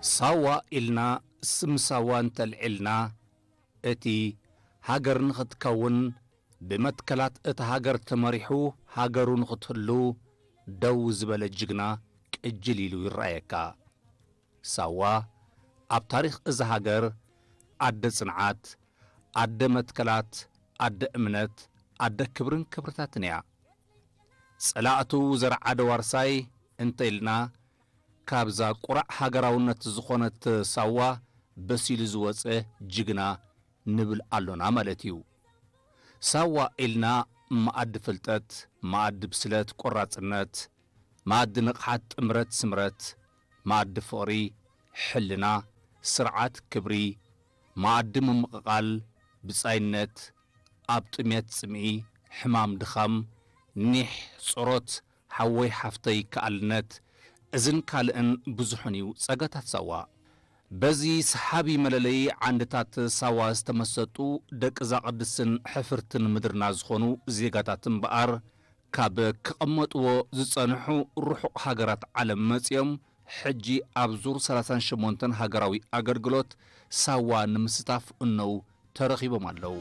ሳዋ ኢልና ስም ሳዋ እንተልዒልና፣ እቲ ሃገር ንኽትከውን ብመትከላት እታ ሃገር ተመሪሑ ሃገሩ ንኽትህሉ ደው ዝበለ ጅግና ቅጅል ኢሉ ይረኣየካ። ሳዋ ኣብ ታሪኽ እዛ ሃገር ኣደ ጽንዓት፣ ኣደ መትከላት፣ ኣደ እምነት፣ ኣደ ክብርን ክብርታትን እያ። ጸላእቱ ዘርዓደ ዋርሳይ እንተ ኢልና፣ ካብዛ ቁራዕ ሃገራውነት ዝኾነት ሳዋ በሲሉ ዝወጸ ጅግና ንብል ኣሎና ማለት እዩ። ሳዋ ኢልና መኣዲ ፍልጠት፣ መኣዲ ብስለት፣ ቆራጽነት፣ መኣዲ ንቕሓት፣ ጥምረት፣ ስምረት፣ መኣዲ ፍቕሪ፣ ሕልና፣ ስርዓት፣ ክብሪ፣ መኣዲ ምምቕቓል፣ ብጻይነት፣ ኣብ ጥሜት ጽምኢ፣ ሕማም ድኻም፣ ኒሕ፣ ጾሮት፣ ሓወይ ሓፍተይ ከኣልነት፣ እዝን ካልእን ብዙሕን እዩ ጸጋታት ሳዋ። በዚ ሰሓቢ መለለዪ ዓንድታት ሳዋ ዝተመሰጡ ደቂ እዛ ቅድስትን ሕፍርትን ምድርና ዝኾኑ ዜጋታት እምበኣር፣ ካብ ክቐመጥዎ ዝጸንሑ ርሑቕ ሃገራት ዓለም መጺኦም፣ ሕጂ ኣብ ዙር ሰላሳን ሸሞንተን ሃገራዊ ኣገልግሎት ሳዋ ንምስታፍ እነው ተረኺቦም ኣለዉ።